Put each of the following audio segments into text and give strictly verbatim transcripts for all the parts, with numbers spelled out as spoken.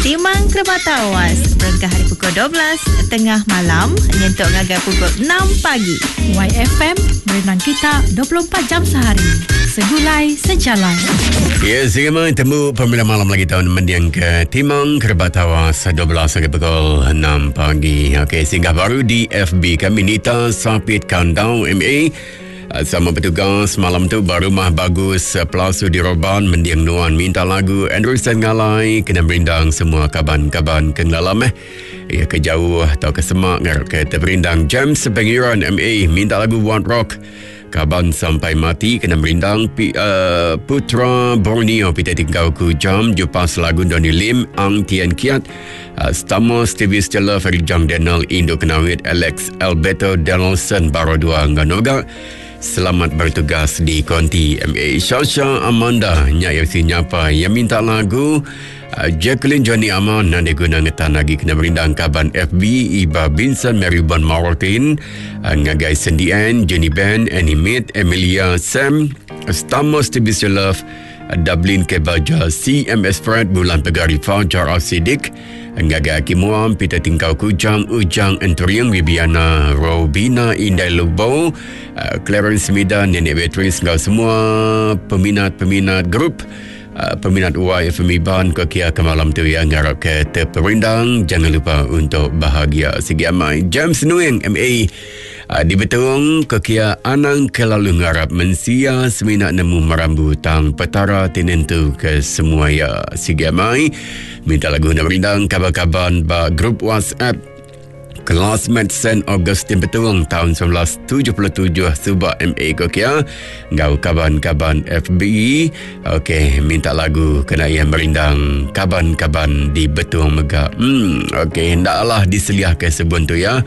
Timang Kerebat Tawas berengkah hari pukul dua belas tengah malam nyentuk ngagai pukul enam pagi. Y F M berenang kita dua puluh empat jam sehari. Segulai sejalan. Ya, sehingga temu pemilihan malam lagi tahun mendiang ke Timang Kerebat Tawas dua belas sampai pukul enam pagi. Okey, singgah baru di F B kami Nita Sapit Countdown M A. Sama bertugas malam tu Barumah Bagus Pelasu di Roban mendiang nuan minta lagu Andrew Sengalai kena merindang semua kaban-kaban kengalam eh. Ya ke jauh atau ke semak ngarap ke terperindang. James Pengiran M A minta lagu One Rock Kaban Sampai Mati kena merindang P, uh, Putra Borneo Peter Tingkau Ku Jam Jupas lagu Donny Lim Ang Tian Kiat uh, Stamos T V Stella Ferry Jang Daniel Indo Kenawit Alex Alberto Donaldson Baro Dua Nganoga. Selamat bertugas di Konti M A. Shasha Amanda nyak yang si nyapa yang minta lagu uh, Jacqueline Johnny Aman nanti guna ngetan lagi kena merindang kaban F B Iba Vincent Mary Bon Martin uh, ngagai Cindy Ann Jenny Ben Annie Mead Emilia Sam Stamos T V Love Dublin Kebaja C M S Fred Bulan Pegari Fajar Asidik Ngagai Akimuam Peter Tingkau Kujang Ujang Enteriang Wibiana Robina Indai Lubo uh, Clarence Mida Nenek Beatrice ngau semua peminat-peminat grup uh, peminat Y F M Iban ke kia ke malam tu yang ngarap ke terperindang. Jangan lupa untuk bahagia segi amai. James Nuing M A uh, di Betung ke kia anang kelalu ngarap mensia semina nemu merambu tang petara tinentu ke semua ya segi amai. Minta lagu nak merindang kabar-kabar ba grup WhatsApp Classmate Saint Augustine Betung tahun seribu sembilan ratus tujuh puluh tujuh Subak M A Kokia ngau kaban-kaban F B. Okey, minta lagu kena yang merindang kaban-kaban di Betung Megak. Hmm, okey, hendaklah diseliah ke sebun tu ya.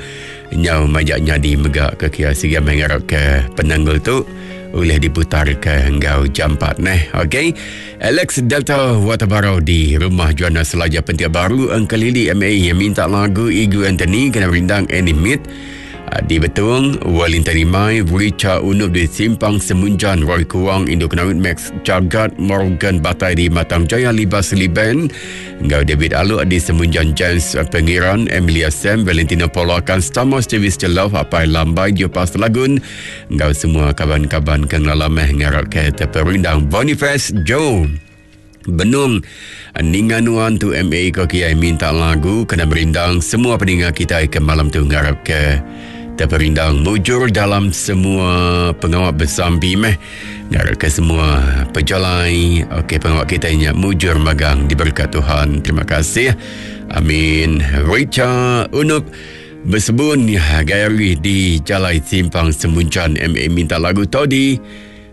Nyau majak nyadi megak ke kia sehingga mengharap ke penanggul tu boleh diputar ke enggau jam empat neh. Okey. Alex Delta Waterbarrow di rumah Joanna Selaja Pentia Baru Engkelili M A yang minta lagu Igu Anthony kena rindang Animate di Betung, Wellington Rimai, Richa Unup di Simpang Semunjan, Roy Kuang, Indo Kenawit Max Jagat, Morgan Batai di Matang Jaya, Libas Liben, Ngau David Aluk di Semunjan, James Pengiran, Emilia Sam, Valentino Polakan, Stamos Davis Jelov, Apai Lambai, Jopas Lagun, Ngau semua kawan-kawan kengalameh ngarap ke terperindang Boniface Joe. Benung Ninga Nuan tu M A Kokiai minta lagu kena merindang semua pendengar kita ke malam tu ngarap ke terperindang mujur dalam semua pengawak bersambi meh ngarap ke semua pejalai okey pengawak kita nya mujur magang diberkat Tuhan. Terima kasih. Amin. Richa Unup bersebun Gayari di Jalai Simpang Semuncan M A minta lagu Todi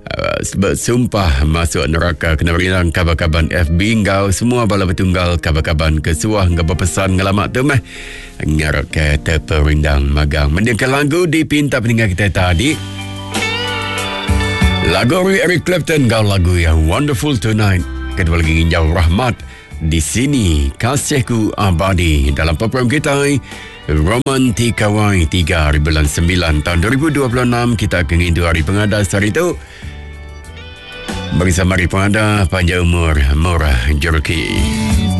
Uh, bersumpah masuk neraka kena berilang kabar-kabar F B ngau semua bala bertunggal kabar-kabar kesuah ngau berpesan ngelamak tu meh ngarap ke terperindang magang. Mendingkan lagu dipinta pendengar kita tadi lagu Eric Clapton ngau lagu yang Wonderful Tonight. Kedua lagi nginjau Rahmat di sini Kasihku Abadi dalam program kita Romantika Y tiga hari bulan sembilan tahun dua ribu dua puluh enam. Kita akan ngindu hari pengadas hari itu bersama hari pengada panjang umur murah jereki.